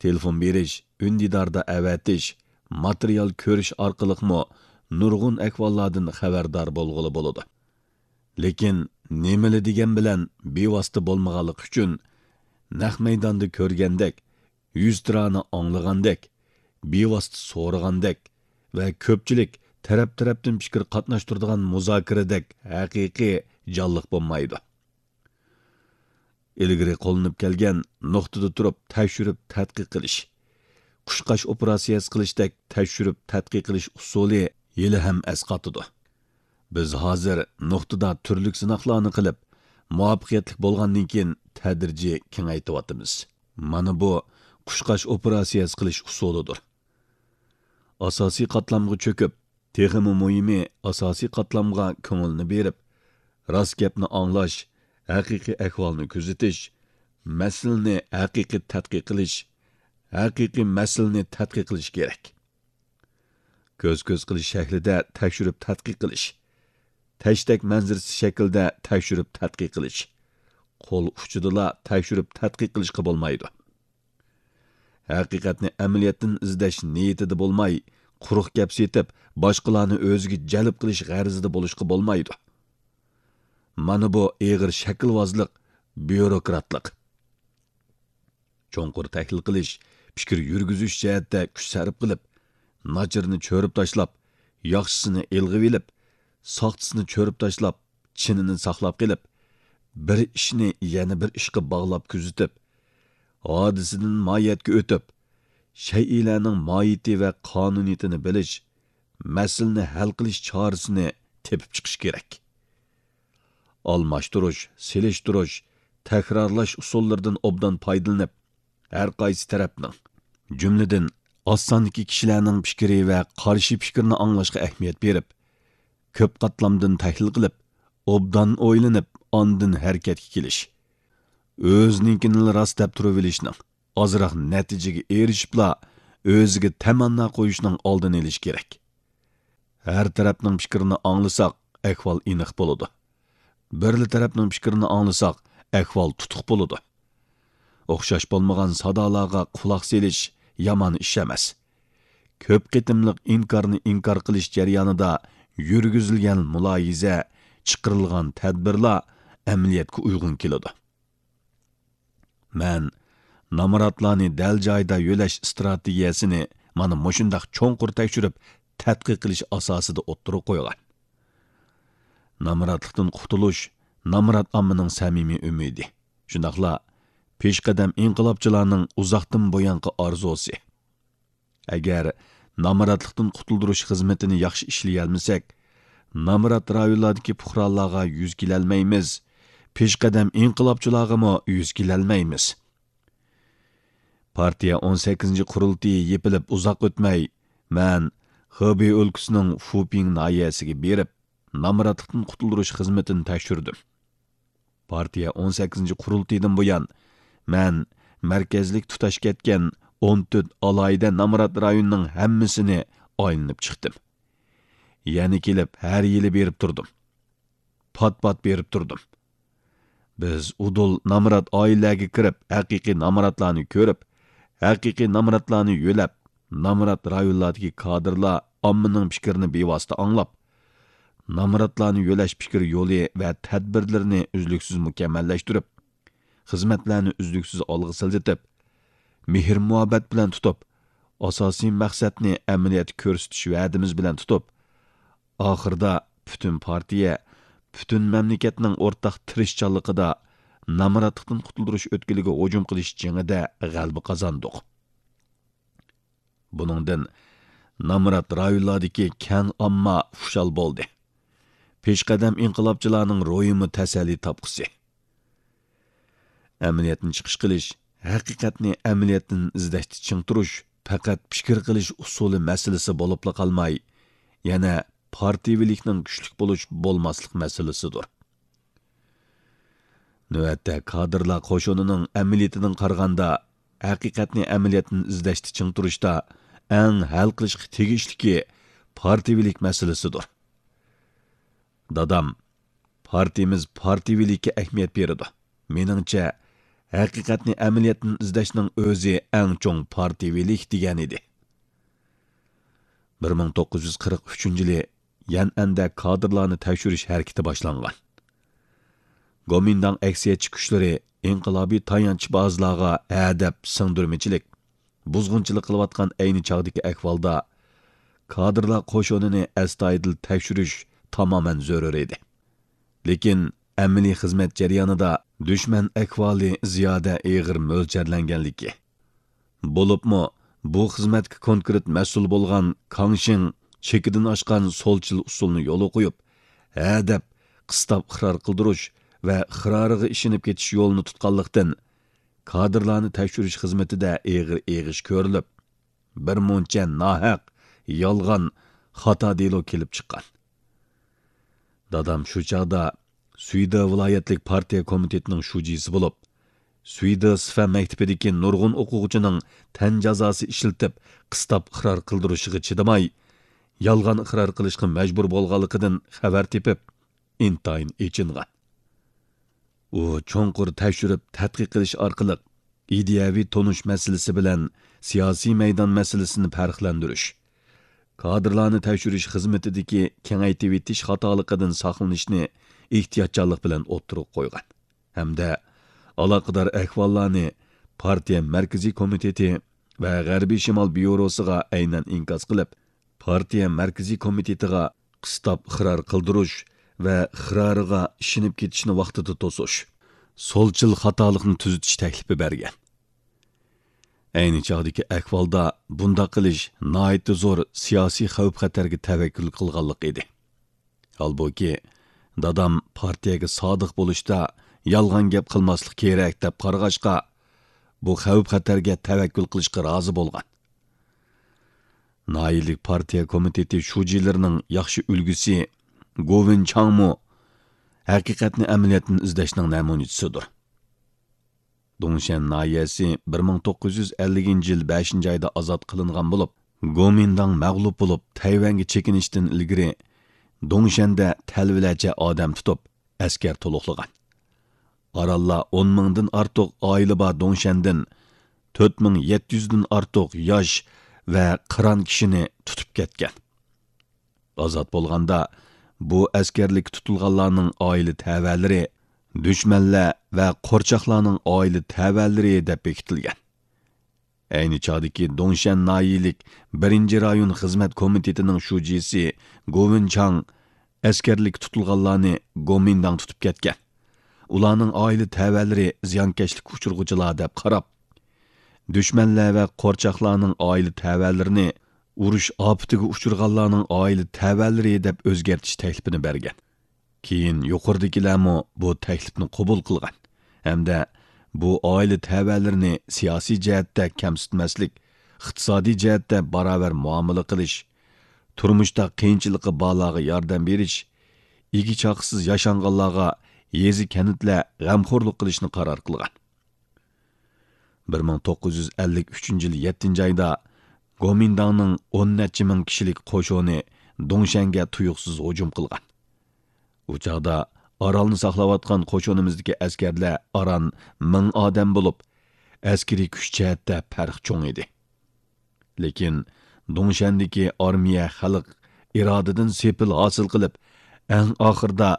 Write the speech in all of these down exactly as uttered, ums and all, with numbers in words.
تېلېفون بېرىش، ئۈندىداردا ئەۋەتىش، ماتېرىيال كۆرۈش ئارقىلىقمۇ نۇرغۇن ئەھۋاللاردىن خەۋەردار بولغىلى بولىدۇ. لېكىن نېمىلا دېگەن بىلەن بىۋاسىتە بولمىغانلىقى ئۈچۈن، نەق مەيداندا كۆرگەندەك، يۈزتۇرانە ئاڭلىغاندەك، بىۋاسىتە سورىغاندەك ۋە كۆپچىلىك تەرەپ-تەرەپتىن پىكىر قاتناشتۇرىدىغان مۇزاكىرىدەك ھەقىقىي جانلىق بولمايدۇ. ئىلگىرى قوللىنىپ كەلگەن نۇقتىدا تۇرۇپ تەكشۈرۈپ تەتقىق قىلىش، قۇشقاچ ئوپېراتسىيەسى قىلىشتەك تەكشۈرۈپ تەتقىق قىلىش ئۇسۇلى ھېلىھەم ئەسقاتىدۇ. بىز ھازىر نۇقتىدا تۈرلۈك سىناقلارنى قىلىپ، مۇۋەپپەقىيەتلىك بولغاندىن كېيىن تەدرىجىي كېڭەيتىۋاتىمىز. مانا بۇ قۇشقاچ ئوپېراتسىيەسى قىلىش ئۇسۇلىدۇر. ئاساسىي قاتلامغا چۆكۈپ، تېخىمۇ مۇھىمى، ئاساسىي قاتلامغا كۆڭۈلنى بېرىپ، راست گەپنى ئاڭلاش، ھەقىقىي ئەھۋالنى كۆزىتىش، مەسىلىنى ھەقىقىي تەتقىق قىلىش، ھەقىقىي مەسىلىنى تەتقىق قىلىش كېرەك. كۆز-كۆز قىلىش شەكلىدە تەكشۈرۈپ تەتقىق قىلىش، تەشتەك مەنزىرىسى شەكلىدە تەكشۈرۈپ تەتقىق قىلىش، قول ئۇچىدىلا تەكشۈرۈپ تەتقىق قىلىشقا بولمايدۇ. ھەقىقەتنى ئەمەلىيەتتىن ئىزدەش نىيىتىدە بولماي، قۇرۇق گەپ سېتىپ، باشقىلارنى ئۆزىگە جەلپ قىلىش غەرىزىدە بولۇشقا بولمايدۇ. مانا بۇ ئېغىر شەكىلۋازلىق، بيۇروكراتلىق. چوڭقۇر تەھلىل قىلىش، پىكىر يۈرگۈزۈش جەھەتتە كۈچ سەرپ قىلىپ، ناچىرىنى چۆرۈپ تاشلاپ، ياخشىسىنى ئىلغىۋېلىپ، ساختىسىنى چۆرۈپ تاشلاپ، چىنىنى ساقلاپ قېلىپ، بىر ئىشنى يەنە بىر ئىشقا باغلاپ كۆزىتىپ، ھادىسىدىن ماھىيەتكە ئۆتۈپ، شەيئىلەرنىڭ ماھىيىتى ۋە قانۇنىيىتىنى بىلىش، مەسىلىنى ھەل قىلىش چارىسىنى تېپىپ چىقىش كېرەك. ئالماشتۇرۇش، سېلىشتۇرۇش، تەكرارلاش ئۇسۇللىرىدىن ئوبدان پايدىلىنىپ، ھەر قايسى تەرەپنىڭ، جۈملىدىن، ئاز ساندىكى كىشىلەرنىڭ پىكرى ۋە قارشى پىكرىنى ئاڭلاشقا ئەھمىيەت بېرىپ، كۆپ قاتلامدىن تەھلىل قىلىپ، ئوبدان ئويلىنىپ، ئاندىن ھەرىكەتكە كېلىش. ئۆزىنىڭكىنىلا راست دەپ تۇرۇۋېلىشنىڭ، ئازراق نەتىجىگە ئېرىشىپلا، ئۆزىگە تەمەننا قويۇشنىڭ ئالدىنى ئېلىش كېرەك. ھەر تەرەپنىڭ پىكرىنى ئاڭلىساق، ئەھۋال ئېنىق بولىدۇ. بىرلا تەرەپنىڭ پىكرىنى ئاڭلىساق، ئەھۋال تۇتۇق بولىدۇ. ئوخشاش بولمىغان سادالارغا قۇلاق سېلىش يامان ئىش ئەمەس. كۆپ قېتىملىق ئىنكارنى ئىنكار قىلىش جەريانىدا يۈرگۈزۈلگەن مۇلاھىزە، چىقىرىلغان تەدبىرلار ئەمەلىيەتكە ئۇيغۇن كېلىدۇ. مەن نامراتلارنى دەل جايىدا يۆلەش ئىستراتېگىيەسىنى مانا مۇشۇنداق چوڭقۇر تەكشۈرۈپ، تەتقىق قىلىش ئاساسىدا ئوتتۇرىغا قويغان. نامراتلىقتىن قۇتۇلۇش نامرات ئاممىنىڭ سەمىمىي ئۈمىدى، شۇنداقلا پېشقەدەم ئىنقىلابچىلارنىڭ ئۇزاقتىن بۇيانقى ئارزۇسى. ئەگەر نامراتلىقتىن قۇتۇلدۇرۇش خىزمىتىنى ياخشى ئىشلىيەلمىسەك، نامرات رايونلاردىكى پۇقرالارغا يۈز كېلەلمەيمىز، پېشقەدەم ئىنقىلابچىلارغىمۇ يۈز كېلەلمەيمىز. پارتىيە ئون سەككىزىنچى قۇرۇلتىيى يېپىلىپ ئۇزاق ئۆتمەي، مەن خېبېي ئۆلكىسىنىڭ فۇپىڭ ناھىيەسىگە بېرىپ، نامراتلىقتىن قۇتۇلدۇرۇش خىزمىتىنى تەكشۈردۈم. پارتىيە ئون سەككىزىنچى قۇرۇلتىيىدىن بۇيان، مەن مەركەزلىك تۇتاش كەتكەن ئون تۆت ئالاھىدە نامرات رايوننىڭ ھەممىسىنى ئايلىنىپ چىقتىم. يەنە كېلىپ ھەر يىلى بېرىپ تۇردۇم. پات-پات بېرىپ تۇردۇم. بىز ئۇدۇل نامرات ئائىلىلەرگە كىرىپ، ھەقىقىي نامراتلارنى كۆرۈپ، ھەقىقىي نامراتلارنى يۆلەپ، نامرات رايونلاردىكى كادىرلار ئاممىنىڭ پىكرىنى بىۋاسىتە ئاڭلاپ، نامراتلارنى يۆلەش پىكىر يولى ۋە تەدبىرلىرىنى ئۈزلۈكسىز مۇكەممەللەشتۈرۈپ، خىزمەتلەرنى ئۈزلۈكسىز ئالغا سىلجىتىپ، مېھىر-مۇھەببەت بىلەن تۇتۇپ، ئاساسىي مەقسەتنى ئەمەلىيەتتە كۆرسىتىش ۋەدىمىز بىلەن تۇتۇپ، ئاخىرىدا پۈتۈن پارتىيە، پۈتۈن مەملىكەتنىڭ ئورتاق تىرىشچانلىقىدا نامراتلىقتىن قۇتۇلدۇرۇش ئۆتكىلىگە ھۇجۇم قىلىش جېڭىدە غەلىبە قازاندۇق. بۇنىڭدىن نامرات رايونلاردىكى كەڭ ئامما خۇشال بولدى. پېشقەدەم ئىنقىلابچىلارنىڭ روھىمۇ تەسەللى تاپقۇسى. ئەمەلىيەتتىن چىقىش قىلىش، ھەقىقەتنى ئەمەلىيەتتىن ئىزدەشتە چىڭ تۇرۇش پەقەت پىكىر قىلىش ئۇسۇلى مەسىلىسى بولۇپلا قالماي، يەنە پارتىيىۋىلىكنىڭ كۈچلۈك بولۇش، بولماسلىق مەسىلىسىدۇر. نۆۋەتتە كادىرلار قوشۇنىنىڭ ئەمەلىيىتىدىن قارىغاندا، ھەقىقەتنى ئەمەلىيەتتىن ئىزدەشتە چىڭ تۇرۇشتا ئەڭ ھەل قىلىشقا تېگىشلىكى پارتىيىۋىلىك مەسىلىسىدۇر. دادام، پارتىيىمىز پارتىيىۋىلىككە ئەھمىيەت بېرىدۇ. مېنىڭچە، ھەقىقەتنى ئەمەلىيەتتىن ئىزدەشنىڭ ئۆزى ئەڭ چوڭ پارتىيىۋىلىك دېگەن ئىدى. بىر مىڭ توققۇز يۈز قىرىق ئۈچىنچى يىلى يەنئەندە كادىرلارنى تەكشۈرۈش ھەرىكىتى باشلانغان. گومىنداڭ ئەكسىيەتچى كۈچلىرى ئىنقىلابىي تايانچبازلارغا ھە دەپ سىڭدۈرمىچىلىك، بۇزغۇنچىلىق قىلىۋاتقان ئەينى چاغدىكى ئەھۋالدا كادىرلار قوشۇنىنى ئەستايىدىل تەكشۈرۈش تامامەن زۆرۈر ئىدى. لېكىن ئەمەلىي خىزمەت جەريانىدا دۈشمەن ئەھۋالى زىيادە ئېغىر مۆلچەرلەنگەنلىكى، بولۇپمۇ بۇ خىزمەتكە كونكرېت مەسئۇل بولغان كاڭشىڭ چېكىدىن ئاشقان سولچىل ئۇسۇلنى يولغا قويۇپ، ھە دەپ قىستاپ ئىقرار قىلدۇرۇش ۋە ئىقرارىغا ئىشىنىپ كېتىش يولىنى تۇتقانلىقتىن، كادىرلارنى تەكشۈرۈش خىزمىتىدە ئېغىر ئېغىش كۆرۈلۈپ، بىر مۇنچە ناھەق، يالغان، خاتا دېلو كېلىپ چىققان. دادام شۇ چاغدا سۈيدې ۋىلايەتلىك پارتىيە كومىتېتىنىڭ شۇجىسى بولۇپ، سۈيدې سىفە مەكتىپىدىكى نۇرغۇن ئوقۇغۇچىنىڭ تەن جازاسى ئىشلىتىپ، قىستاپ ئىقرار قىلدۇرۇشىغا چىدىماي، يالغان ئىقرار قىلىشقا مەجبۇر بولغانلىقىدىن خەۋەر تېپىپ، ئىنتايىن ئېچىنغان. ئۇ چوڭقۇر تەكشۈرۈپ تەتقىق قىلىش ئارقىلىق ئىدىيەۋى تونۇش مەسىلىسى بىلەن سىياسىي مەيدان مەسىلىسىنى پەرقلەندۈرۈش، كادىرلارنى تەكشۈرۈش خىزمىتىدىكى كېڭەيتىۋېتىش خاتالىقىدىن ساقلىنىشنى ئېھتىياتچانلىق بىلەن ئوتتۇرىغا قويغان ھەمدە ئالاقىدار ئەھۋاللارنى پارتىيە مەركىزىي كومىتېتى ۋە غەربىي شىمال بيۇروسىغا ئەينەن ئىنكاس قىلىپ، پارتىيە مەركىزىي كومىتېتىغا قىستاپ ئىقرار قىلدۇرۇش ۋە ئىقرارىغا ئىشىنىپ كېتىشنى ۋاقتىدا توسۇش، سولچىل خاتالىقنى تۈزىتىش تەكلىپى بەرگەن. ئەينى چاغدىكى ئەھۋالدا بۇنداق قىلىش ناھايىتى زور سىياسىي خەۋپ-خەتەرگە تەۋەككۈل قىلغانلىق ئىدى. ھالبۇكى، دادام پارتىيەگە سادىق بولۇشتا يالغان گەپ قىلماسلىق كېرەك دەپ قارىغاچقا، بۇ خەۋپ-خەتەرگە تەۋەككۈل قىلىشقا رازى بولغان. ناھىيەلىك پارتىيە كومىتېتى شۇجىلىرىنىڭ ياخشى ئۈلگىسى گوۋېن چاڭمۇ ھەقىقەتنى ئەمەلىيەتتىن ئىزدەشنىڭ نەمۇنىچىسىدۇر. دۇڭشەن ناھىيەسى بىر مىڭ توققۇز يۈز ئەللىكىنچى يىل بەشىنچى ئايدا ئازاد قىلىنغان بولۇپ، گومىنداڭ مەغلۇپ بولۇپ، تەيۋەنگە چېكىنىشتىن ئىلگىرى دۇڭشەندە تەلۋىلەرچە ئادەم تۇتۇپ، ئەسكەر تولۇقلىغان. ئارانلا ئون مىڭدىن ئارتۇق ئائىلە بار دۇڭشەندىن تۆت مىڭ يەتتە يۈزدىن ئارتۇق ياش ۋە قىران كىشىنى تۇتۇپ كەتكەن. ئازاد بولغاندا، بۇ ئەسكەرلىككە تۇتۇلغانلارنىڭ ئائىلە تەۋەلىرى دۈشمەنلەر ۋە قورچاقلارنىڭ ئائىلە تەۋەلىرى دەپ بېكىتىلگەن. ئەينى چاغدىكى دۇڭشەن ناھىيەلىك بىرىنچى رايون خىزمەت كومىتېتىنىڭ شۇجىسى گوۋېن چاڭ ئەسكەرلىككە تۇتۇلغانلارنى گومىنداڭ تۇتۇپ كەتكەن. ئۇلارنىڭ ئائىلە تەۋەلىرى زىيانكەشلىككە ئۇچرىغۇچىلار دەپ قاراپ، دۈشمەنلەر ۋە قورچاقلارنىڭ ئائىلە تەۋەلىرىنى ئۇرۇش ئاپىتىگە ئۇچرىغانلارنىڭ ئائىلە تەۋەلىرى دەپ ئۆزگەرتىش تەكلىپىنى بەرگەن. كېيىن يۇقىرىدىكىلەرمۇ بۇ تەكلىپنى قوبۇل قىلغان ھەمدە بۇ ئائىلە تەۋەلىرىنى سىياسىي جەھەتتە كەمسىتمەسلىك، ئىقتىسادىي جەھەتتە باراۋەر مۇئامىلە قىلىش، تۇرمۇشتا قىيىنچىلىقى بارلارغا ياردەم بېرىش، ئىگە-چاقىسىز ياشانغانلارغا يېزا-كەنتلەر غەمخورلۇق قىلىشنى قارار قىلغان. بىر مىڭ توققۇز يۈز ئەللىك ئۈچىنچى يىل يەتتىنچى ئايدا گومىنداڭنىڭ ئون نەچچە مىڭ كىشىلىك قوشۇنى دۇڭشەنگە تۇيۇقسىز ھۇجۇم قىلغان. ئۇ چاغدا ئارالنى ساقلاۋاتقان قوشۇنىمىزدىكى ئەسكەرلەر ئاران مىڭ ئادەم بولۇپ، ئەسكىرىي كۈچ جەھەتتە پەرق چوڭ ئىدى. لېكىن دۇڭشەندىكى ئارمىيە خەلق ئىرادىدىن سېپىل ھاسىل قىلىپ، ئەڭ ئاخىرىدا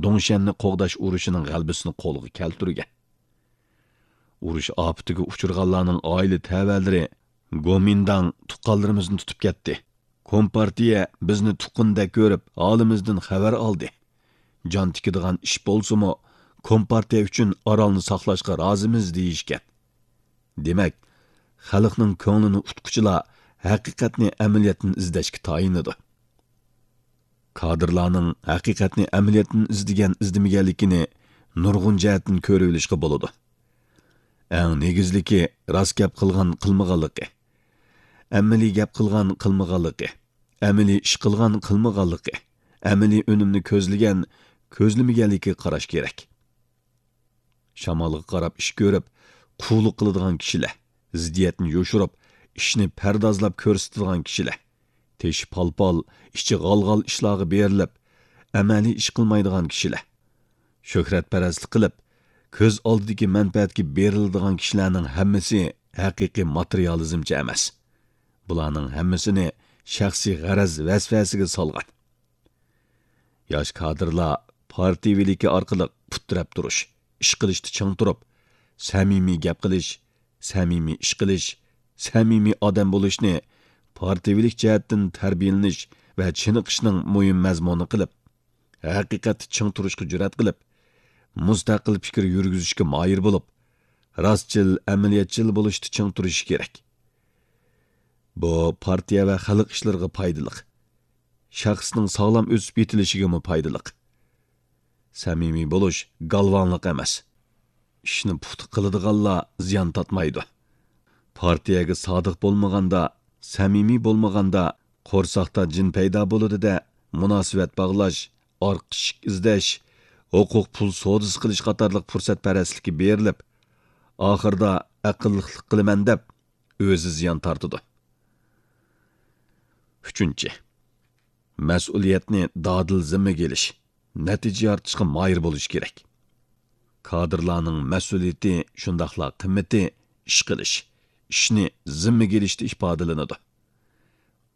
دۇڭشەننى قوغداش ئۇرۇشىنىڭ غەلىبىسىنى قولغا كەلتۈرگەن. ئۇرۇش ئاپىتىگە ئۇچرىغانلارنىڭ ئائىلە تەۋەلىرى گومىنداڭ تۇغقانلىرىمىزنى تۇتۇپ كەتتى. كومپارتىيە بىزنى تۇغقىنىدەك كۆرۈپ، ھالىمىزدىن خەۋەر ئالدى. جان تىكىدىغان ئىش بولسىمۇ، كومپارتىيە ئۈچۈن ئارالنى ساقلاشقا رازىمىز دېيىشكەن. دېمەك، خەلقنىڭ كۆڭلىنى ئۇتقۇچىلار ھەقىقەتنى ئەمەلىيەتتىن ئىزدەشكە تايىنىدۇ. كادىرلارنىڭ ھەقىقەتنى ئەمەلىيەتتىن ئىزدىگەن-ئىزدىمىگەنلىكىنى نۇرغۇن جەھەتتىن كۆرۈۋېلىشقا بولىدۇ. ئەڭ نېگىزلىكى، راست گەپ قىلغان-قىلمىغانلىقى، ئەمەلىي گەپ قىلغان-قىلمىغانلىقى، ئەمەلىي ئىش قىلغان-قىلمىغانلىقى، ئەمەلىي ئۈنۈمنى كۆزلىگەن-كۆزلىمىگەنلىكىگە قاراش كېرەك. شامالغا قاراپ ئىش كۆرۈپ، قۇۋلۇق قىلىدىغان كىشىلەر، زىددىيەتنى يوشۇرۇپ، ئىشنى پەردازلاپ كۆرسىتىدىغان كىشىلەر، تېشى پالپال، ئىچى غالغال ئىشلارغا بېرىلىپ، ئەمەلىي ئىش قىلمايدىغان كىشىلەر، شۆھرەتپەرەسلىك قىلىپ، كۆز ئالدىدىكى مەنپەئەتكە بېرىلىدىغان كىشىلەرنىڭ ھەممىسى ھەقىقىي ماتېرىيالىزمچى ئەمەس. بۇلارنىڭ ھەممىسىنى شەخسىي غەرەز ۋەسۋەسىگە سالغان. ياش كادىرلار پارتىيىۋىلىكى ئارقىلىق پۇت تىرەپ تۇرۇش، ئىش قىلىشتا چىڭ تۇرۇپ، سەمىمىي گەپ قىلىش، سەمىمىي ئىش قىلىش، سەمىمىي ئادەم بولۇشنى پارتىيىۋىلىك جەھەتتىن تەربىيەلىنىش ۋە چېنىقىشنىڭ مۇھىم مەزمۇنى قىلىپ، ھەقىقەتتە چىڭ تۇرۇشقا جۈرئەت قىلىپ، مۇستەقىل پىكىر يۈرگۈزۈشكە ماھىر بولۇپ، راستچىل، ئەمەلىيەتچىل بولۇشتا چىڭ تۇرۇشى كېرەك. بۇ پارتىيە ۋە خەلق ئىشلىرىغا پايدىلىق. شەخسنىڭ ساغلام ئۆسۈپ يېتىلىشىگىمۇ پايدىلىق. سەمىمىي بولۇش گالۋاڭلىق ئەمەس. ئىشنى پۇختا قىلىدىغانلار زىيان تارتمايدۇ. پارتىيەگە سادىق بولمىغاندا، سەمىمىي بولمىغاندا، قورساقتا جىن پەيدا بولىدۇ-دە، مۇناسىۋەت باغلاش، ئارقا ئىشىك ئىزدەش، ھوقۇق پۇل سودىسى قىلىش قاتارلىق پۇرسەتپەرەسلىككە بېرىلىپ، ئاخىرىدا ئەقىللىقلىق قىلىمەن دەپ، ئۆزى زىيان تارتىدۇ. ئۈچىنچى، مەسئۇلىيەتنى دادىل زىممىگە ئېلىش، نەتىجە يارىتىشقا ماھىر بولۇش كېرەك. كادىرلارنىڭ مەسئۇلىيىتى شۇنداقلا قىممىتى ئىش قىلىش، ئىشنى زىممىگە ئېلىشتا ئىپادىلىنىدۇ.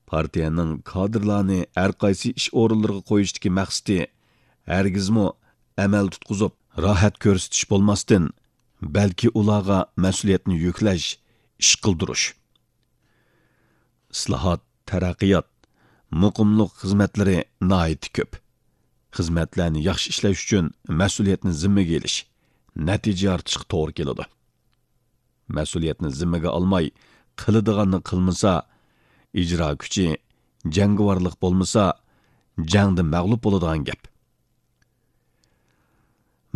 پارتىيەنىڭ كادىرلارنى ھەرقايسى ئىش ئورۇنلىرىغا قويۇشتىكى مەقسىتى ھەرگىزمۇ ئەمەل تۇتقۇزۇپ، راھەت كۆرسىتىش بولماستىن، بەلكى ئۇلارغا مەسئۇلىيەتنى يۈكلەش، ئىش قىلدۇرۇش. ئىسلاھات، تەرەققىيات، مۇقىملىق خىزمەتلىرى ناھايىتى كۆپ. خىزمەتلەرنى ياخشى ئىشلەش ئۈچۈن مەسئۇلىيەتنى زىممىگە ئېلىش، نەتىجە يارىتىشقا توغرا كېلىدۇ. مەسئۇلىيەتنى زىممىگە ئالماي، قىلىدىغاننى قىلمىسا، ئىجرا كۈچى، جەڭگىۋارلىق بولمىسا، جەڭدە مەغلۇپ بولىدىغان گەپ.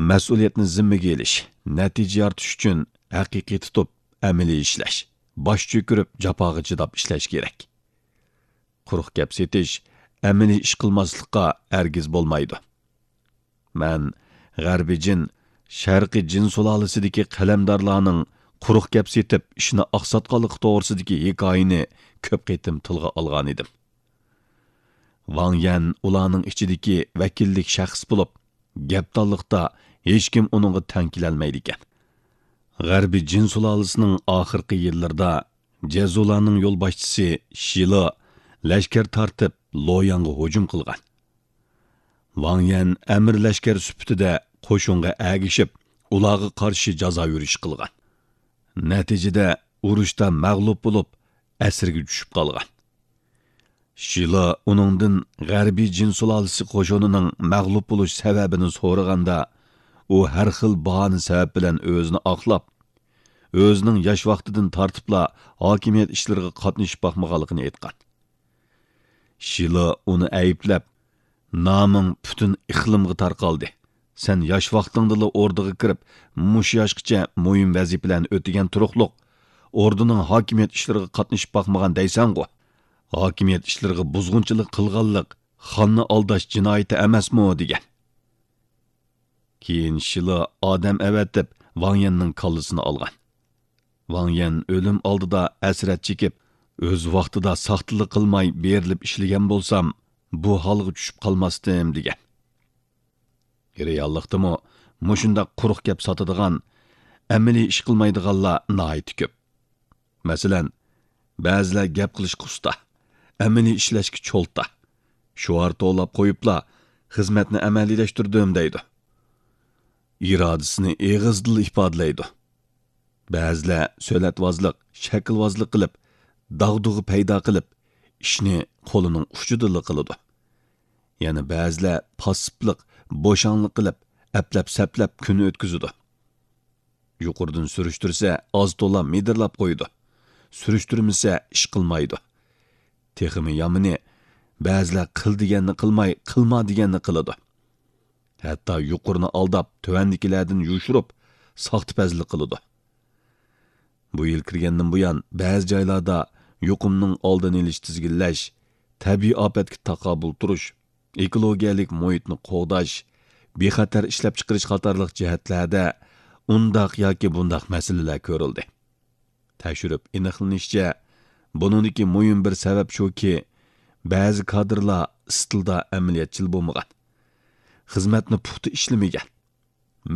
مەسئۇلىيەتنى زىممىگە ئېلىش، نەتىجە يارىتىش ئۈچۈن ھەقىقىي تۇتۇپ، ئەمەلىي ئىشلەش، باش چۆكۈرۈپ، جاپاغا چىداپ ئىشلەش كېرەك. قۇرۇق گەپ سېتىش، ئەمەلىي ئىش قىلماسلىققا ھەرگىز بولمايدۇ. مەن غەربىي جىن، شەرقىي جىن سۇلالىسىدىكى قەلەمدارلارنىڭ قۇرۇق گەپ سېتىپ، ئىشنى ئاقساتقانلىقى توغرىسىدىكى ھېكايىنى كۆپ قېتىم تىلغا ئالغانىدىم. ۋاڭ يەن ئۇلارنىڭ ئىچىدىكى ۋەكىللىك شەخس بولۇپ، گەپدانلىقتا ھېچكىم ئۇنىڭغا تەڭ كېلەلمەيدىكەن. غەربىي جىن سۇلالىسىنىڭ ئاخىرقى يىللىرىدا جەزۇلارنىڭ يولباشچىسى شىلا لەشكەر تارتىپ، لوياڭغا ھۇجۇم قىلغان. ۋاڭ يەن ئەمىر لەشكەر سۈپىتىدە قوشۇنغا ئەگىشىپ، ئۇلارغا قارشى جازا يۈرۈش قىلغان. نەتىجىدە ئۇرۇشتا مەغلۇپ بولۇپ، ئەسىرگە چۈشۈپ قالغان. شىلا ئۇنىڭدىن غەربىي جىن سۇلالىسى قوشۇنىنىڭ مەغلۇپ بولۇش سەۋەبىنى سورىغاندا، ئۇ ھەر خىل باھانە سەۋەب بىلەن ئۆزىنى ئاقلاپ، ئۆزىنىڭ ياش ۋاقتىدىن تارتىپلا ھاكىمىيەت ئىشلىرىغا قاتنىشىپ باقمىغانلىقىنى ئېيتقان. شىلا ئۇنى ئەيىبلەپ، «نامىڭ پۈتۈن ئىقلىمغا تارقالدى. سەن ياش ۋاقتىڭدىلا ئوردىغا كىرىپ، مۇشۇ ياشقىچە مۇھىم ۋەزىپىلەرنى ئۆتىگەن تۇرۇقلۇق، ئوردىنىڭ ھاكىمىيەت ئىشلىرىغا قاتنىشىپ باقمىغان دەيسەنغۇ؟ ھاكىمىيەت ئىشلىرىغا بۇزغۇنچىلىق قىلغانلىق خاننى ئالداش جىنايىتى ئەمەسمۇ؟» دېگەن. كېيىن شىلا ئادەم ئەۋەتىپ، ۋاڭ يەننىڭ كاللىسىنى ئالغان. ۋاڭ يەن ئۆلۈم ئالدىدا ھەسرەت چېكىپ، «ئۆز ۋاقتىدا ساختىلىق قىلماي بېرىلىپ ئىشلىگەن بولسام، بۇ ھالغا چۈشۈپ قالماستىم» دېگەن. رېئاللىقتىمۇ مۇشۇنداق قۇرۇق گەپ ساتىدىغان، ئەمەلىي ئىش قىلمايدىغانلار ناھايىتى كۆپ. مەسىلەن، بەزىلەر گەپ قىلىشقا ئۇستا، ئەمەلىي ئىشلەشكە چولتا. شوئار توۋلاپ قويۇپلا، «خىزمەتنى ئەمەلىيلەشتۈردۈم» دەيدۇ. ئىرادىسىنى ئېغىزدىلا ئىپادىلەيدۇ. بەزىلەر سۆلەتۋازلىق، شەكىلۋازلىق قىلىپ، داغدۇغا پەيدا قىلىپ، ئىشنى قولىنىڭ ئۇچىدىلا قىلىدۇ. يەنە بەزىلەر پاسسىپلىق، بوشاڭلىق قىلىپ، ئەپلەپ-سەپلەپ كۈن ئۆتكۈزىدۇ. يۇقىرىدىن سۈرۈشتۈرسە، ئاز-تولا مىدىرلاپ قويىدۇ. سۈرۈشتۈرمىسە، ئىش قىلمايدۇ. تېخىمۇ يامىنى، بەزىلەر قىل دېگەننى قىلماي، قىلما دېگەننى قىلىدۇ. ھەتتا يۇقىرىنى ئالداپ، تۆۋەندىكىلەردىن يوشۇرۇپ، ساختىپەزلىك قىلىدۇ. بۇ يىل كىرگەندىن بۇيان، بەزى جايلاردا يۇقۇمنىڭ ئالدىنى ئېلىش، تىزگىنلەش، تەبىئىي ئاپەتكە تاقابىل تۇرۇش، ئېكولوگىيەلىك مۇھىتنى قوغداش، بىخەتەر ئىشلەپچىقىرىش قاتارلىق جەھەتلەردە ئۇنداق ياكى بۇنداق مەسىلىلەر كۆرۈلدى. تەكشۈرۈپ ئېنىقلىنىشىچە، بۇنىڭدىكى مۇھىم بىر سەۋەب شۇكى، بەزى كادىرلار ئىستىلدا ئەمەلىيەتچىل بولمىغان، خىزمەتنى پۇختا ئىشلىمىگەن،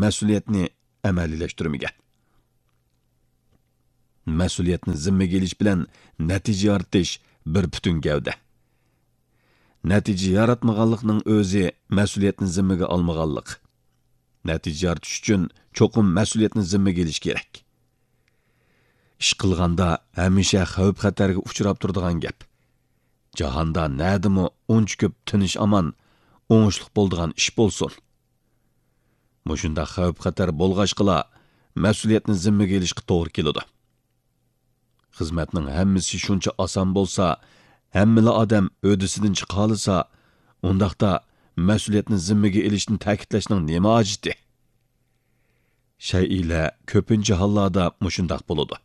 مەسئۇلىيەتنى ئەمەلىيلەشتۈرمىگەن. مەسئۇلىيەتنى زىممىگە ئېلىش بىلەن نەتىجە يارىتىش بىر پۈتۈن گەۋدە. نەتىجە ياراتمىغانلىقنىڭ ئۆزى مەسئۇلىيەتنى زىممىگە ئالمىغانلىق. نەتىجە يارىتىش ئۈچۈن چوقۇم مەسئۇلىيەتنى زىممىگە ئېلىش كېرەك. ئىش قىلغاندا ھەمىشە خەۋپ-خەتەرگە ئۇچراپ تۇرىدىغان گەپ. جاھاندا نەدىمۇ ئۇنچە كۆپ تىنچ-ئامان، ئوڭۇشلۇق بولىدىغان ئىش بولسۇن؟ مۇشۇنداق خەۋپ-خەتەر بولغاچقىلا، مەسئۇلىيەتنى زىممىگە ئېلىشقا توغرا كېلىدۇ. خىزمەتنىڭ ھەممىسى شۇنچە ئاسان بولسا، ھەممىلا ئادەم ھۆددىسىدىن چىقالىسا، ئۇنداقتا مەسئۇلىيەتنى زىممىگە ئېلىشنى تەكىتلەشنىڭ نېمە ھاجىتى؟ شەيئىلەر كۆپىنچە ھاللاردا مۇشۇنداق بولىدۇ.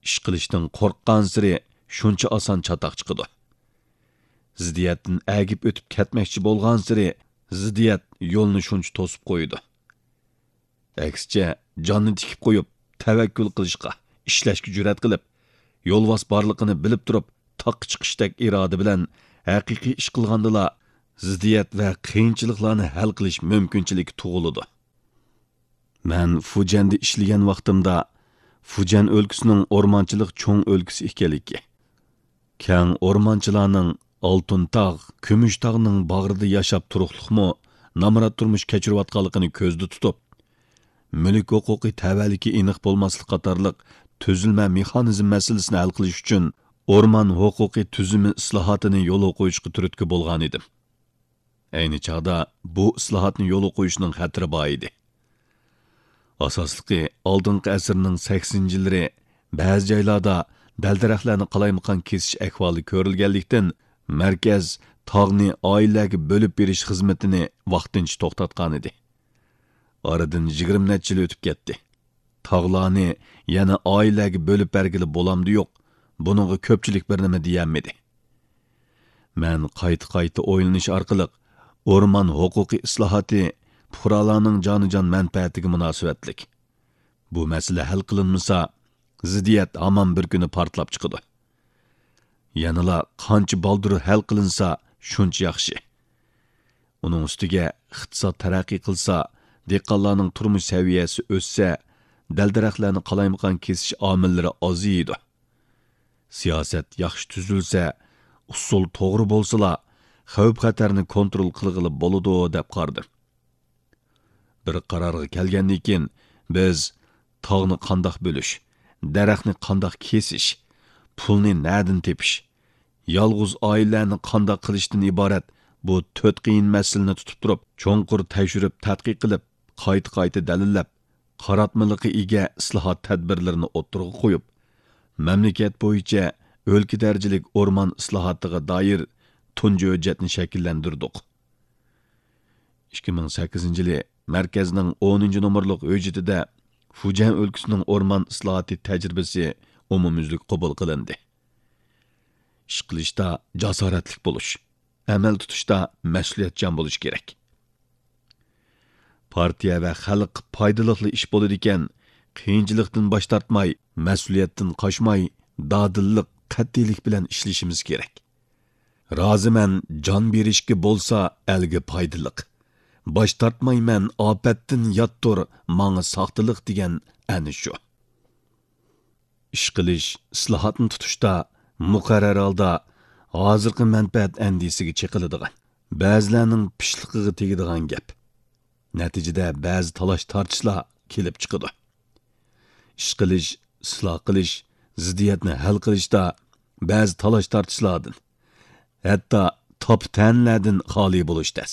ئىش قىلىشتىن قورققانسېرى شۇنچە ئاسان چاتاق چىقىدۇ. زىددىيەتتىن ئەگىپ ئۆتۈپ كەتمەكچى بولغانسېرى زىددىيەت يولنى شۇنچە توسۇپ قويىدۇ. ئەكسىچە، جاننى تىكىپ قويۇپ، تەۋەككۈل قىلىشقا، ئىشلەشكە جۈرئەت قىلىپ، يولۋاس بارلىقىنى بىلىپ تۇرۇپ، تاغقا چىقىشتەك ئىرادە بىلەن ھەقىقىي ئىش قىلغاندىلا، زىددىيەت ۋە قىيىنچىلىقلارنى ھەل قىلىش مۇمكىنچىلىكى تۇغۇلىدۇ. مەن فۇجيەندە ئىشلىگەن ۋاقتىمدا، فۇجيەن ئۆلكىسىنىڭ ئورمانچىلىق چوڭ ئۆلكىسى ئىكەنلىكى، كەڭ ئورمانچىلارنىڭ ئالتۇن تاغ، كۈمۈش تاغنىڭ باغرىدا ياشاپ تۇرۇقلۇقمۇ نامرات تۇرمۇش كەچۈرۈۋاتقانلىقىنى كۆزدە تۇتۇپ، مۈلۈك ھوقۇقى تەۋەلىكى ئېنىق بولماسلىق قاتارلىق تۈزۈلمە مېخانىزم مەسىلىسىنى ھەل قىلىش ئۈچۈن ئورمان ھوقۇقى تۈزۈمى ئىسلاھاتىنى يولغا قويۇشقا تۈرتكە بولغانىدىم. ئەينى چاغدا بۇ ئىسلاھاتنى يولغا قويۇشنىڭ خەتىرى بار ئىدى. ئاساسلىقى، ئالدىنقى ئەسىرنىڭ سەكسىنىنچى يىللىرى بەزى جايلاردا دەل-دەرەخلەرنى قالايمىقان كېسىش ئەھۋالى كۆرۈلگەنلىكتىن، مەركەز تاغنى ئائىلىلەرگە بۆلۈپ بېرىش خىزمىتىنى ۋاقتىنچە توختاتقانىدى. ئارىدىن يىگىرمە نەچچە يىل ئۆتۈپ كەتتى. تاغلارنى يەنە ئائىلىلەرگە بۆلۈپ بەرگىلى بولامدۇ يوق، بۇنىڭغا كۆپچىلىك بىر نېمە دېيەلمىدى. مەن قايتا-قايتا ئويلىنىش ئارقىلىق، ئورمان ھوقۇقى ئىسلاھاتى پۇقرالارنىڭ جانىجان مەنپەئەتىگە مۇناسىۋەتلىك. بۇ مەسىلە ھەل قىلىنمىسا، زىددىيەت ھامان بىر كۈنى پارتلاپ چىقىدۇ. يەنىلا قانچە بالدۇر ھەل قىلىنسا، شۇنچە ياخشى. ئۇنىڭ ئۈستىگە ئىقتىساد تەرەققىي قىلسا، دېھقانلارنىڭ تۇرمۇش سەۋىيەسى ئۆسسە، دەل-دەرەخلەرنى قالايمىقان كېسىش ئامىللىرى ئازىيىدۇ. سىياسەت ياخشى تۈزۈلسە، ئۇسۇل توغرا بولسىلا، خەۋپ-خەتەرنى كونترول قىلغىلى بولىدۇ، دەپ قارىدىم. بىر قارارغا كەلگەندىن كېيىن، بىز تاغنى قانداق بۆلۈش، دەرەخنى قانداق كېسىش، پۇلنى نەدىن تېپىش، يالغۇز ئائىلىلەرنى قانداق قىلىشتىن ئىبارەت بۇ تۆت قىيىن مەسىلىنى تۇتۇپ تۇرۇپ، چوڭقۇر تەكشۈرۈپ تەتقىق قىلىپ، قايتا-قايتا دەلىللەپ، قاراتمىلىققا ئىگە ئىسلاھات تەدبىرلىرىنى ئوتتۇرىغا قويۇپ، مەملىكەت بويىچە ئۆلكە دەرىجىلىك ئورمان ئىسلاھاتىغا دائىر تۇنجى ھۆججەتنى شەكىللەندۈردۇق. ئىككى مىڭ سەككىزىنچى يىلى مەركەزنىڭ ئونىنچى نومۇرلۇق ھۆججىتىدە فۇجيەن ئۆلكىسىنىڭ ئورمان ئىسلاھاتى تەجرىبىسى ئومۇميۈزلۈك قوبۇل قىلىندى. ئىش قىلىشتا جاسارەتلىك بولۇش، ئەمەل تۇتۇشتا مەسئۇلىيەتچان بولۇش كېرەك. پارتىيە ۋە خەلق پايدىلىقلا ئىش بولىدىكەن، قىيىنچىلىقتىن باش تارتماي، مەسئۇلىيەتتىن قاچماي، دادىللىق، قەتئىيلىك بىلەن ئىشلىشىمىز كېرەك. رازىمەن جان بېرىشكە بولسا ئەلگە پايدىلىق. باش تارتمايمەن ئاپەتتىن ياتتۇر ماڭا ساختىلىق دېگەن ئەنە شۇ. ئىش قىلىش، ئىسلاھاتنى تۇتۇشتا مۇقەررەر ھالدا ھازىرقى مەنپەئەت ئەندىزىسىگە چېقىلىدىغان، بەزىلەرنىڭ پىشلىقىغا تېگىدىغان گەپ. نەتىجىدە بەزى تالاش-تارتىشلار كېلىپ چىقىدۇ. ئىش قىلىش، ئىسلاھ قىلىش، زىددىيەتنى ھەل قىلىشتا بەزى تالاش-تارتىشلاردىن، ھەتتا تاپا-تەنىلەردىن خالىي بولۇش تەس.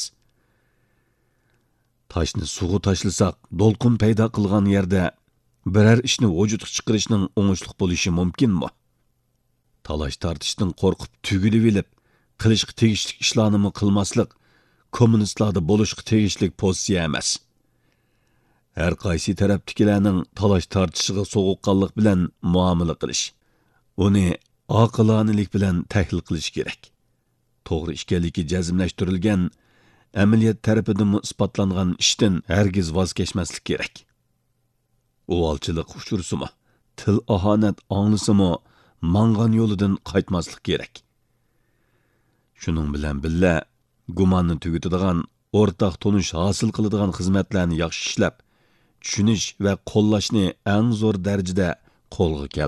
تاشنى سۇغا تاشلىساق، دولقۇن پەيدا قىلغان يەردە بىرەر ئىشنى ۋۇجۇدقا چىقىرىشنىڭ ئوڭۇشلۇق بولۇشى مۇمكىنمۇ؟ تالاش-تارتىشتىن قورقۇپ تۈگىلىۋېلىپ، قىلىشقا تېگىشلىك ئىشلارنىمۇ قىلماسلىق كوممۇنىستلاردا بولۇشقا تېگىشلىك پوزىتسىيە ئەمەس. ھەر قايسى تەرەپتىكىلەرنىڭ تالاش-تارتىشىغا سوغۇققانلىق بىلەن مۇئامىلە قىلىش، ئۇنى ئاقىلانىلىك بىلەن تەھلىل قىلىش كېرەك. توغرا ئىكەنلىكى جەزملەشتۈرۈلگەن، ئەمەلىيەت تەرىپىدىنمۇ ئىسپاتلانغان ئىشتىن ھەرگىز ۋاز كەچمەسلىك كېرەك. ئۇۋالچىلىق ئۇچرىسىمۇ، تىل-ئاھانەت ئاڭلىسىمۇ، ماڭغان يولىدىن قايتماسلىق كېرەك. شۇنىڭ بىلەن بىللە، گۇماننى تۈگىتىدىغان، ئورتاق تونۇش ھاسىل قىلىدىغان خىزمەتلەرنى ياخشى ئىشلەپ، چۈشىنىش ۋە قوللاشنى ئەڭ زور دەرىجىدە قولغا كەلتۈرىدۇ.